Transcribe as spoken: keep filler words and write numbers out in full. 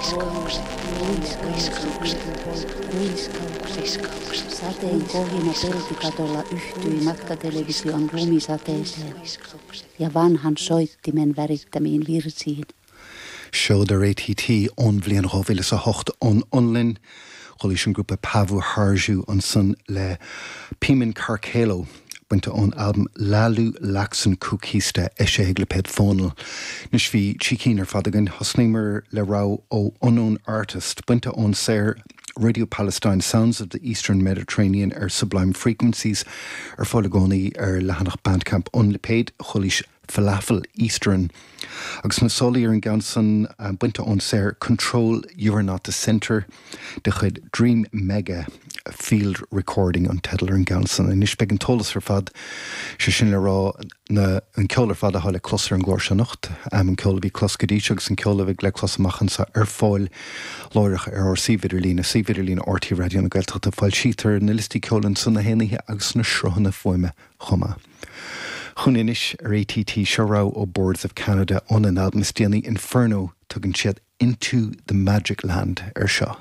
Kuusi, Sateen kohina peltikatolla yhtyi matkatelevision lumisateeseen ja vanhan soittimen värittämiin virsiin. Seod ar ATT ón bhliain dhá mhíle is a hocht ón Fhionlainn, chualaís an grúpa Pavuharju ansan le Pimen Karkelo, bainte ón albam Laulu Laakson Kukista eisithe ag lipéad Fónal. Anois bhí trí cinn ar fad againn, thosnaíomar le rogha ó Unknown Artist, bainte ón saothar Radio Palestine Sounds of the Eastern Mediterranean ar Sublime Frequencies ar fáil i gcónaí ar leathanach Bandcamp an lipéid, chualaís Falafel Eastern. Agus na sólaí ar an gceann san bainte ón saothar Control You Are Not The Centre de chuid Dream Mega Field Recording an teideal ar an gceann san. Anois beidh an t-eolas ar fad, sé sin le rá na an ceol ar fad atá le clos ar an gclár seo anocht, an ceol a bhí clos go dtí seo agus an ceol a bheidh le clos amach anseo ar fáil láithreach ar ár suíomh idirlíne, suíomh idirlíne RTÉ Raidió na Gaeltachta. Foilsítear na liostaí ceoil ansan na haon oíche agus na sruthanna fuaime chomh maith. Chugainn anois ar ATT seo rogha ó Boards of Canada óna n-albam is déanaí Inferno, tugann siad Into the Magic Land ar seo.